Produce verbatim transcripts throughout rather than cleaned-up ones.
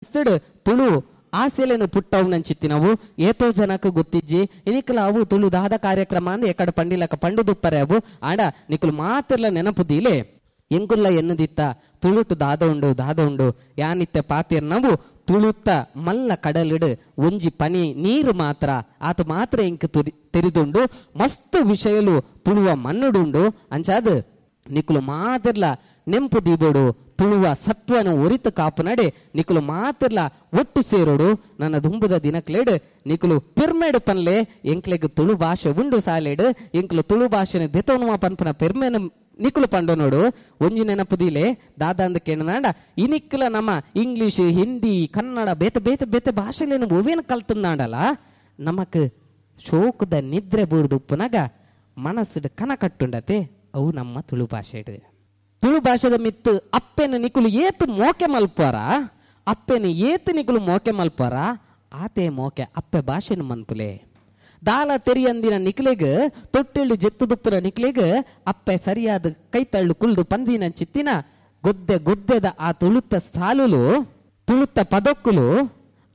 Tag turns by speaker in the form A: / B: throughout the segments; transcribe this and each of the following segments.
A: ತುಳು ಆಸೆಲೆನು ಪುಟ್ಟವು ಏತೋ ಜನಕ್ಕೆ ಗೊತ್ತಿಜ್ಜಿ ಇನಿಕಲ ಅವು ತುಳು ದಾದ ಕಾರ್ಯಕ್ರಮ ಅಂದ್ ಎಕಡ ಪಂಡಿಲಕ ಪಂಡುದುಪ್ಪರೆ ಅವು ಆಡ ನಿಕುಲು ಮಾತಿರ್ಲ ನೆನಪುದೀಲೆ ಎಂಕುಲ್ಲ ಎನ್ನದಿತ್ತ ತುಳುಟು ದಾದ ಉಂಡು ದಾದ ಉಂಡು ಯಾನಿತ್ತೆ ಪಾತಿರ್ ನಾವು ತುಳುತ್ತ ಮಲ್ಲ ಕಡಲಿಡು ಒಂಜಿ ಪನಿ ನೀರು ಮಾತ್ರ ಆತ ಮಾತ್ರ ಎಂಕ್ ತುರಿ ತೆರಿದುಂಡು ಮಸ್ತ್ ವಿಷಯಲು ತುಳುವ ಮನ್ನುಡುಂಡು ಅಂಚಾದ ನಿಕುಲು ಮಾತಿರ್ಲ ನೆಂಪು ದೀಬೋಡು ತುಳುವ ಸತ್ವನ ಒರಿತು ಕಾಪುನಡೆ ನಿಕುಲು ಮಾತಿರ್ಲ ಒಟ್ಟು ಸೇರೋಡು ನನ್ನ ದುಂಬುದ ದಿನಕ್ಲೇಡು ನಿಕುಲು ಪೆರ್ಮೆಡು ಪನ್ಲೆ ಎಂಕ್ಲೆಗ್ ತುಳು ಭಾಷೆ ಉಂಡು ಸಾಲೇಡು ಎಂಕ್ಲು ತುಳು ಭಾಷೆನ ದೆತೋನುವ ಪನ್ಪನ ಪೆರ್ಮೆನ ನಿಕುಲು ಪಂಡು ನೋಡು ಒಂಜಿ ನೆನಪುದಿಲೆ ದಾದ ಅಂದ ಕೇಣನಾಂಡ ಇನಿಕ್ಲ ನಮ್ಮ ಇಂಗ್ಲಿಷ್ ಹಿಂದಿ ಕನ್ನಡ ಬೇತೆ ಬೇತೆ ಬೇತೆ ಭಾಷೆಲೇನು ಒವೇನು ಕಲ್ತಂದಾಂಡಲ ನಮಕ್ ಶೋಕದ ನಿದ್ರೆ ಬೂರ್ದು ಉಪ್ಪುನಾಗ ಮನಸ್ಸು ಕನ ಕಟ್ಟುಂಡತೆ ಅವು ನಮ್ಮ ತುಳು ಭಾಷೆ. ತುಳು ಭಾಷೆದ ಮಿತ್ತು ಅಪ್ಪೆನ ನಿಕುಲು ಏತು ಮೋಕೆ ಮಲ್ಪಾರ ಅಪ್ಪೆನ ಏತು ನಿಕುಲು ಮೋಕೆ ಮಲ್ಪಾರ ಆತೆ ಮೋಕೆ ಅಪ್ಪೆ ಭಾಷೆನ ಮನ್ಪುಲೆ ದಾಲ ತೆರಿಯಂದಿನ ನಿಕ್ಲೆಗ್ ತೊಟ್ಟೆಳ್ಳು ಜೆತ್ತು ದುಪ್ಪುನ ನಿಕ್ಲೆಗ್ ಅಪ್ಪೆ ಸರಿಯಾದ ಕೈತಳ್ಳು ಕುಲ್ದು ಪಂದಿನ ಚಿತ್ತಿನ ಗೊದ್ದೆ ಗೊದ್ದೆದ ಆ ತುಳುತ್ತ ಸಾಲುಲು ತುಳುತ್ತ ಪದೊಕ್ಕುಲು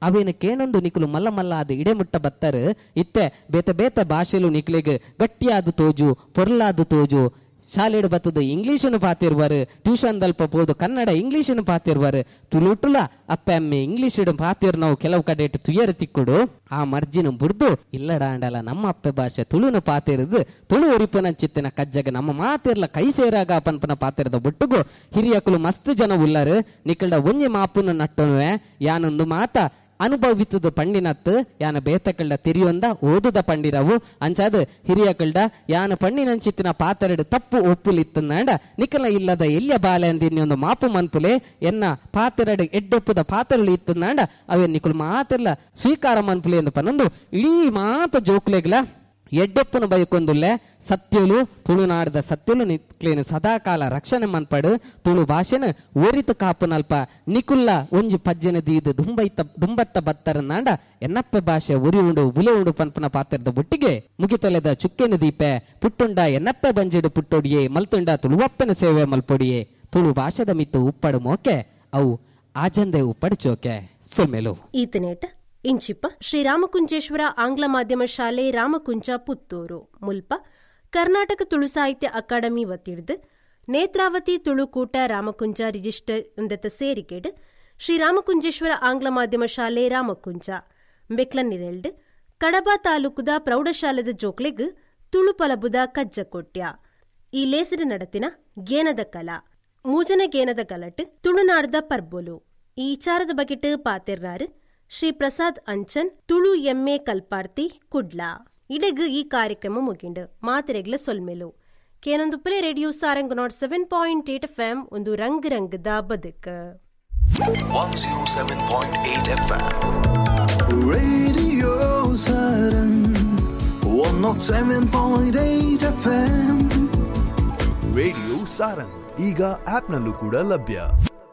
A: ಅವೇನು ಕೇನೊಂದು ನಿಕುಲು ಮಲ್ಲ ಮಲ್ಲ ಅದು ಇಡೆಮುಟ್ಟ ಬತ್ತರು ಇತ್ತೆ ಬೇತೆ ಬೇತೆ ಭಾಷೆಲು ನಿಕ್ಲೆಗ್ ಗಟ್ಟಿಯಾದ ತೋಜು ಪೊರ್ಲಾದ ತೋಜು ಶಾಲೆಡು ಬತ್ತದ ಇಂಗ್ಲೀಷನ್ನು ಪಾತಿರ್ವಾರು ಟ್ಯೂಷನ್ ದಲ್ಪ ಪೋದು ಕನ್ನಡ ಇಂಗ್ಲೀಷನ್ನು ಪಾತಿರ್ವಾರು ತುಳುಟುಲ ಅಪ್ಪೆ ಅಮ್ಮೆ ಇಂಗ್ಲೀಷ್ ಪಾತಿರ್ ನಾವು ಕೆಲವು ಕಡೆ ತುಯರ್ ತಿಕ್ಕುಡು ಆ ಮರ್ಜಿನ ಬುಡ್ದು ಇಲ್ಲಡಾಂಡಲ ನಮ್ಮ ಅಪ್ಪೆ ಭಾಷೆ ತುಳುನು ಪಾತಿರದು ತುಳು ಒರಿಪನ ಚಿತ್ತಿನ ಕಜ್ಜಗ ನಮ್ಮ ಮಾತಿರ್ಲ ಕೈ ಸೇರಾಗ ಪನ್ಪನ ಪಾತಿರದ ಬೊಟ್ಟುಗು ಹಿರಿಯಕುಲು ಮಸ್ತ್ ಜನ ಉಲ್ಲರು ನಿಕಲ್ಡ ಒಂಜಿ ಮಾಪುನ ನಟ್ಟನುವೆ ಯಾನೊಂದು ಮಾತ ಅನುಭವಿತದ ಪಂಡಿನತ್ತು ಯಾನ ಬೇತಕಳ್ಳ ತಿರಿಯೊಂದ ಓದುದ ಪಂಡಿರವು ಅಂಚಾದ ಹಿರಿಯಕಳ್ಡ ಯಾನ ಪಣ್ಣಿನಂಚಿತ್ತಿನ ಪಾತರಡು ತಪ್ಪು ಒಪ್ಪುಲಿತ್ತಂದಾಂಡ ನಿಕಲ ಇಲ್ಲದ ಎಲ್ಲಿಯ ಬಾಲೆ ಅಂದಿನ್ಯೊಂದು ಮಾಪು ಮನ್ಪುಲೆ ಎನ್ನ ಪಾತೆರಡು ಎಡ್ಡೊಪ್ಪುದ ಪಾತರಳು ಇತ್ತಂದಾಂಡ ಅವೇ ನಿಕುಲು ಮಾತೆಲ್ಲ ಸ್ವೀಕಾರ ಮನ್ಪುಲೆ ಎಂದು ಪನ್ನೊಂದು ಇಡೀ ಮಾತ ಜೋಕ್ಲೆಗ್ಲ ಎಡ್ಡೊಪ್ಪನು ಬಯಕೊಂದುಲ್ಲೆ ಸತ್ಯಲು ತುಳುನಾಡದ ಸತ್ಯಲು ನಿಕ್ಲೇನು ಸದಾಕಾಲ ರಕ್ಷಣೆ ಮನ್ಪಡು ತುಳು ಭಾಷೆನ ಒರಿತು ಕಾಪುನಲ್ಪ ನಿಕುಲ್ಲ ಒಂಜಿ ಪಜ್ಜೆನ ದೀದು ದುಂಬೈತ ದುಂಬತ್ತ ಬತ್ತರನಾಂಡ ಎನ್ನಪ್ಪೆ ಭಾಷೆ ಉರಿ ಉಂಡು ಉಲೆ ಉಂಡು ಪನ್ಪನ ಪಾತ್ರದ ಬೊಟ್ಟಿಗೆ ಮುಗಿತಲೆದ ಚುಕ್ಕೆನ ದೀಪೆ ಪುಟ್ಟುಂಡ ಎನ್ನಪ್ಪೆ ಬಂಜಿಡು ಪುಟ್ಟೊಡಿಯೆ ಮಲ್ತುಂಡ ತುಳುವಪ್ಪನ ಸೇವೆ ಮಲ್ಪೊಡಿಯೆ ತುಳು ಭಾಷೆದ ಮಿತ್ತು ಉಪ್ಪಡು ಮೋಕೆ ಅವು ಆಜಂದೆ ಉಪ್ಪಡು ಚೋಕೆ ಸೊಮ್ಮೆಲು.
B: ಈತನೇಟ ಇಂಚಿಪ್ಪ ಶ್ರೀ ರಾಮಕುಂಜೇಶ್ವರ ಆಂಗ್ಲ ಮಾಧ್ಯಮ ಶಾಲೆ ರಾಮಕುಂಜ ಪುತ್ತೂರು ಮುಲ್ಪ ಕರ್ನಾಟಕ ತುಳು ಸಾಹಿತ್ಯ ಅಕಾಡೆಮಿ ವತಿಡ್ದು ನೇತ್ರಾವತಿ ತುಳುಕೂಟ ರಾಮಕುಂಜ ರಿಜಿಸ್ಟರ್ ಉಂದತ ಸೇರಿಕೆಡ್ ಶ್ರೀ ರಾಮಕುಂಜೇಶ್ವರ ಆಂಗ್ಲ ಮಾಧ್ಯಮ ಶಾಲೆ ರಾಮಕುಂಜ ಬೆಕ್ಲನ್ನಿರೆಲ್ಡ್ ಕಡಬ ತಾಲೂಕುದ ಪ್ರೌಢಶಾಲೆದ ಜೋಕ್ಲೆಗ್ ತುಳು ಪಲಬುದ ಕಜ್ಜಕೊಟ್ಯ ಈ ಲೇಸಿನ ನಡತಿನ ಗೇನದ ಕಲಾ ಮೂಜನ ಗೇನದ ಕಲಟ್ ತುಳುನಾಡ್ದ ಪರ್ಬೊಲು ಈ ವಿಚಾರದ ಬಗೆಟ್ ಪಾತೆರ್ನಾರು ಶ್ರೀ ಪ್ರಸಾದ್ ಅಂಚನ್ ತುಳು ಎಮ್ಮೆ ಕಲ್ಪಾರ್ತಿ ಕುಡ್ಲ. ಇಡೆಗ್ ಈ ಕಾರ್ಯಕ್ರಮ ಮುಗಿಂಡು ಮಾತೆರೆಗ್ಲ ಸೊಲ್ಮೆಲು ಕೇನೊಂದು play radio Sarang nought seven point eight F M ಒಂದು ರಂಗ್ ರಂಗದ ಬದುಕು.
C: one oh seven point eight F M Radio Sarang one oh seven point eight F M Radio Sarang ಈಗ ಆಪ್ನಲ್ಲೂ ಕೂಡ ಲಭ್ಯ.